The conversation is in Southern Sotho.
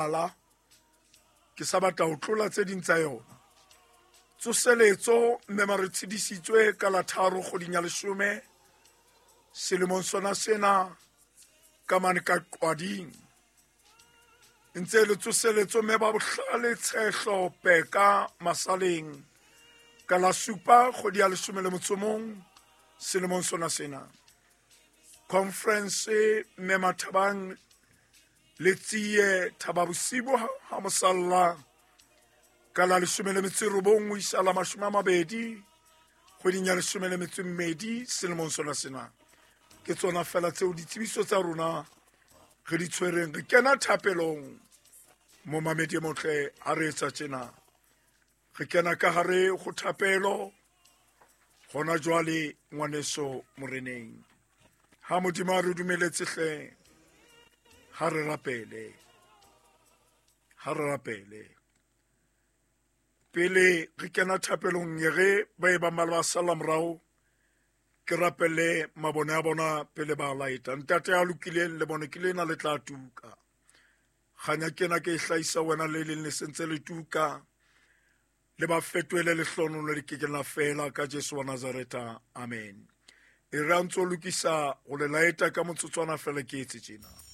Ala ke sa batla ho tlola tse ding tsa yona. Tsoseletso mme mare tshedisitswe ka la 3 kgweding ya 10 selemong sona sena ka mane ka Qwading. Ntse le tsoseletso mme ba bohlale Tshehlo Peka Masaleng ka la 7 kgwedi ya 11 selemong sona sena. Conference mme Mathabang le Tsie Thaba Bosibo ha mosalla ka la 19 ho isa la 20 kgweding ya 12 selemong sona sena. Ke tsona fela tseo ditsebiso tsa rona re di tshwereng. Re kena thapelong momamedi e motle ha re etsa tjena. Re kena ka hare ho thapelo hona jwale ngwaneso moreneng. Ha Modimo a re dumeletse hle, ha re rapele, ha re rapele. Pele re kena thapelong e re ba e bang ba le ba sala morao, ke rapele mabone a bona pele ba laeta. Ntate a lokileng le bone ke lena le tla tuka. Kganya kena ke e hlahisa wena le leng le sentse le tuka. Le ba fetohele lehlono le ke ke la fela ka Jesu wa Nazareta. Amen. E re a ntso lokisa ho le laeta ka motsotswana fela ke etse tjena.